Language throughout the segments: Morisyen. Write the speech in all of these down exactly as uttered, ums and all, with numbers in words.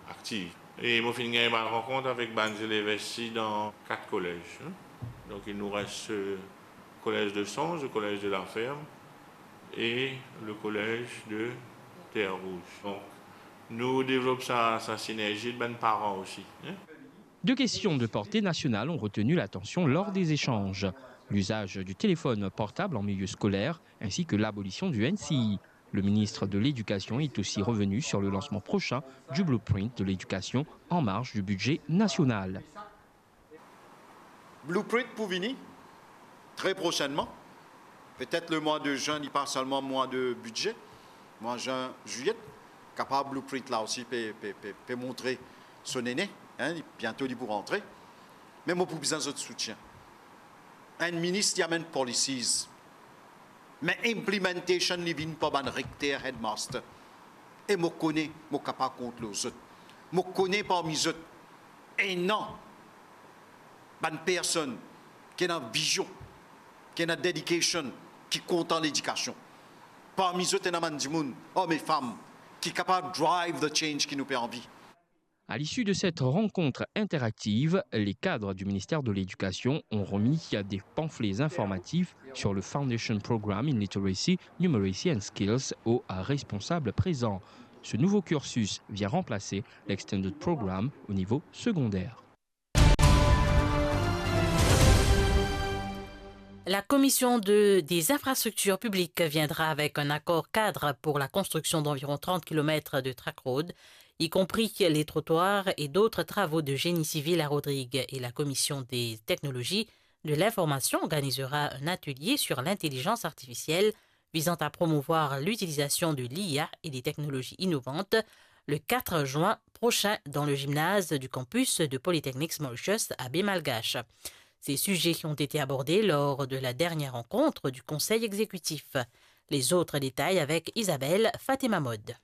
Aktiv. E mo finn gagn bann rankont avek bann zelev isi dan kat kolez, hein. Donk, il nous reste, euh, collège de Songe, le collège de la Ferme et le collège de Terre Rouge. Donk, nou devlop sa, sa sinerzi avek bann paran osi, hein. Deux questions de portée nationale ont retenu l'attention lors des échanges. L'usage du téléphone portable en milieu scolaire ainsi que l'abolition du N C I. Le ministre de l'Éducation est aussi revenu sur le lancement prochain du blueprint de l'éducation en marge du budget national. Blueprint pou vini tre prosennman. Petet le mwa de zin, li pa selman mwa de bidze, mwa zin, zilye, kapab blueprint la osi pe, pe, pe, pe montre so nene, hein, li, biento li pou rantre. Me mo pou bizin zot soutien. Enn minis, li amenn policies. Me implementation, li vinn par bann rekter, headmaster. E mo kone, mo kapav kont lor zot. Mo kone parmi zot, ena bann personn ki ena vizion, ki ena dedication, ki kontan ledikasion. Parmi zot, ena bann dimoun, om e fam, ki kapav drive the change ki nou pe anvi. À l'issue de cette rencontre interactive, les cadres du ministère de l'Éducation ont remis des pamphlets informatifs sur le Foundation Programme in Literacy, Numeracy and Skills aux responsables présents. Ce nouveau cursus vient remplacer l'Extended Programme au niveau secondaire. La Commission de, des infrastructures publiques viendra avec un accord cadre pour la construction d'environ trente kilomètres de track road, y compris les trottoirs et d'autres travaux de génie civil à Rodrigues. Et la Commission des technologies de l'information organisera un atelier sur l'intelligence artificielle visant à promouvoir l'utilisation de l'I A et des technologies innovantes le quatre juin prochain dans le gymnase du campus de Polytechnics Mauritius à Baie Malgache. Ces sujets ont été abordés lors de la dernière rencontre du Conseil exécutif. Les autres détails avec Isabelle Fatemamod.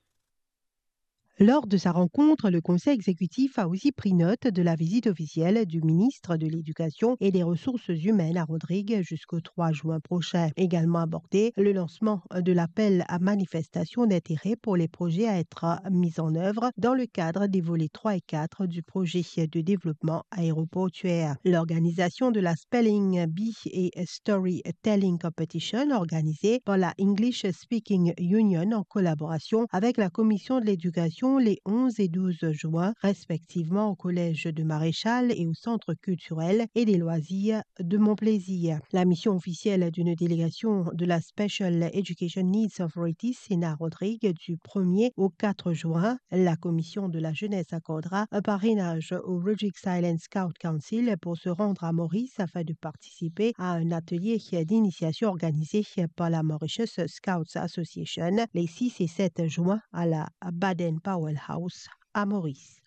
Lors de sa rencontre, le Conseil exécutif a aussi pris note de la visite officielle du ministre de l'Éducation et des Ressources humaines à Rodrigues jusqu'au trois juin prochain. Également abordé, le lancement de l'appel à manifestation d'intérêt pour les projets à être mis en œuvre dans le cadre des volets trois et quatre du projet de développement aéroportuaire. L'organisation de la Spelling Bee et Storytelling Competition organisée par la English Speaking Union en collaboration avec la Commission de l'Éducation les onze et douze juin, respectivement au Collège de Maréchal et au Centre culturel et des loisirs de Mont Plaisir. La mission officielle d'une délégation de la Special Education Needs Authority, Sénat Rodrigues, du premier au quatre juin. La Commission de la Jeunesse accordera un parrainage au Rodrigues Island Scout Council pour se rendre à Maurice afin de participer à un atelier d'initiation organisé par la Mauritius Scouts Association les six et sept juin à la Baden Powell House à Maurice.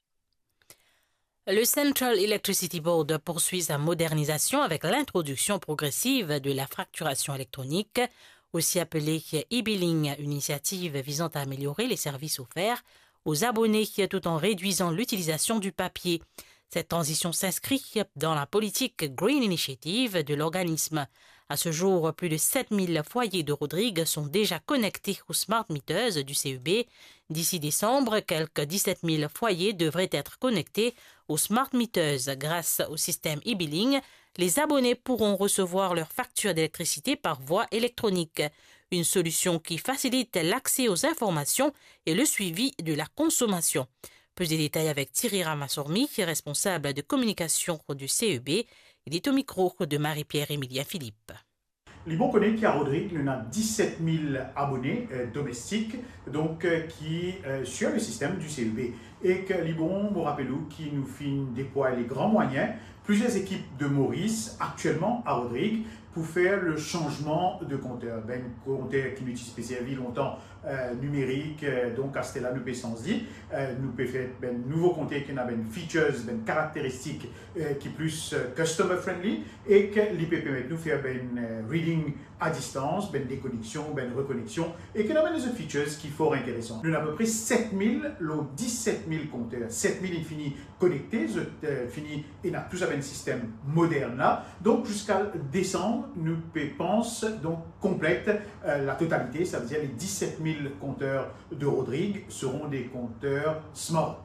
Le Central Electricity Board poursuit sa modernisation avec l'introduction progressive de la facturation électronique, aussi appelée e-billing, une initiative visant à améliorer les services offerts aux abonnés tout en réduisant l'utilisation du papier. Cette transition s'inscrit dans la politique Green Initiative de l'organisme. À ce jour, plus de sept mille foyers de Rodrigues sont déjà connectés aux smart meters du C E B. D'ici décembre, quelques dix-sept mille foyers devraient être connectés aux smart meters. Grâce au système e-billing, les abonnés pourront recevoir leur facture d'électricité par voie électronique. Une solution qui facilite l'accès aux informations et le suivi de la consommation. Plus de détails avec Thierry Ramasormi, responsable de communication du C E B. Il est au micro de Marie-Pierre Emilien Philippe. Li bon kone ki a Rodrigues, nou ena diset mil abone, euh, domestik, donk, euh, ki, euh, sur le système du C E B. E ki li bon, mo rapel ou ki nou finn deplwaye le gran mwayin, plizier ekip de Maurice, aktielman a Rodrigues, pou fer le sanzman de konter. Bann konter ki nou ti pe servi lontan, euh, nimerik, euh, donk aster la nou pe sanz li, euh, nou pe fer bann nouvo konter ki ena bann features, bann karakteristik, euh, ki plis, euh, customer friendly, e ki li pe permet nou fer bann, euh, reading a distans, bann dekoneksion, bann rekoneksion, e ki ena bann lezot features ki for interesan. Nou ena apepre set mil lor diset mil konter. Set mil inn fini konekte, zot, euh, fini ena tou sa bann sistem modern la. Donk, ziska desanm, nou pe pans, donk, konplet, euh, la totalite, savedir le diset mil konter de Rodrigues seront des compteurs smart.